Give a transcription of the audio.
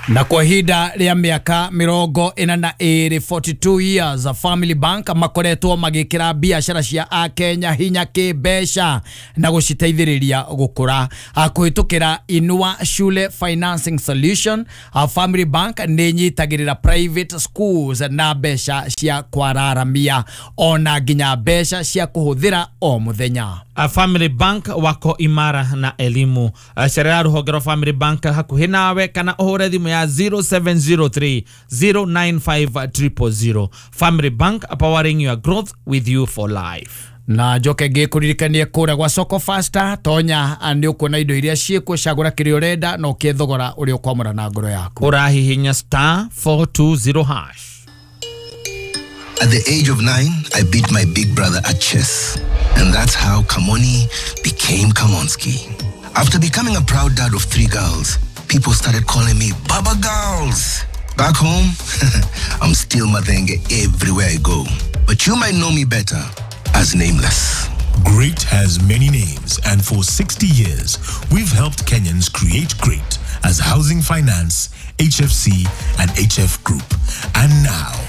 Na kwa ihinda rĩa mĩaka 42, 42 years, Family Bank makoretwo magĩkĩra biacara cia akenya hinya kĩmbeca na gũciteithĩrĩria gũkũra kũhĩtũkĩra Inua Shule Financing Solution. Family Bank nĩ ĩnyitagĩrĩra private schools na mbeca cia kwararamia ona nginya mbeca cia kũhũthĩra o mũthenya. Family Bank wako imara na elimu. Cerera rũhonge rwa Family Bank hakuhĩ nawe kana ũhũre thimũ ya 0703 095 000. Family Bank, powering your growth, with you for life. Na njoke ngĩkũririkanie kũrĩa gwa Soko Fasta, tonya nĩ ũkuona indo iria ciĩkuo, cagũra kĩrĩa ũrenda na ũkĩe thogora ũrĩa ũkwamũra na ngoro yaku. Ũrahihinya *420#. At the age of 9, I beat my big brother at chess. And that's how Kamoni became Kamonski. After becoming a proud dad of three girls, people started calling me Baba Girls. Back home, I'm still Mathenge everywhere I go. But you might know me better as Nameless. Great has many names, and for 60 years, we've helped Kenyans create great as Housing Finance, HFC, and HF Group. And now,